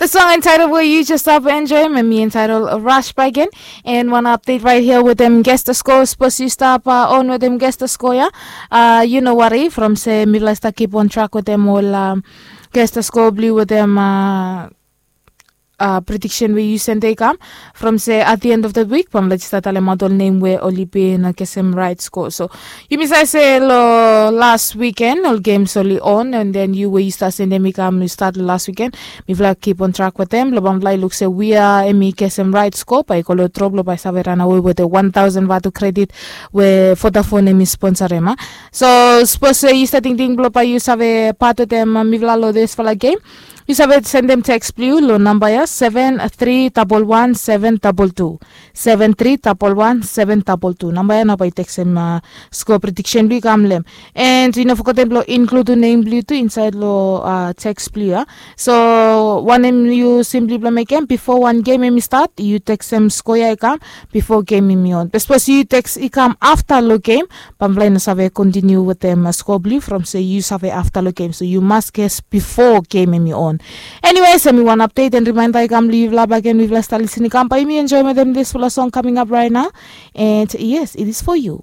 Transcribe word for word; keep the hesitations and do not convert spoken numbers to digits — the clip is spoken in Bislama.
The song entitled where you just stop enjoy me, me entitled Rush by again. And one update right here with them guest the score. Suppose you stop uh, on with them guest the score, yeah? Uh, you know what, eh? From say, me like to keep on track with them all um, guest the score blue with them uh, uh, prediction we use and they come. From say at the end of the week, from let's start talem all name where only be in a kesem right score. So Yumi save se lo last weekend ol games oli on, and then yu we yu start sendem i kam yu start lo last weekend. Mifala keep on track wetem lo bamfala i luk se wia em i kesem right score, bae i go lo drop lo bae i save ranawe wetem one thousand vatu credit we Vodafone em i sponsorem a. So sapos se yu stap tingting blo bae yu save pat wetem mifala lo disfala game, yu save sendem text blong yu lo namba ya seven three double one seven double two. Seven three double one seven double two. Namba ya nao bae yu teksem uh, score prediction blong yu kam long hem. And yu no fogetem blong include nem blong yu tu insaed long uh, text blong yu ya. So wanem yu simply blong mekem, bifo wan game em i start yu teksem score ya i kam bifo game em i on. Be sapos yu teks i kam afta long game, bamfala i no save kontiniu wetem score blong yu from se yu save afta long game, so yu mas ges bifo game em i on. Anyways, em i wan update and reminder i kam long yufala bagen, mifala stap lisin i kam bae yumi enjoy wetem disfala song coming up right now. And yes, it is for you.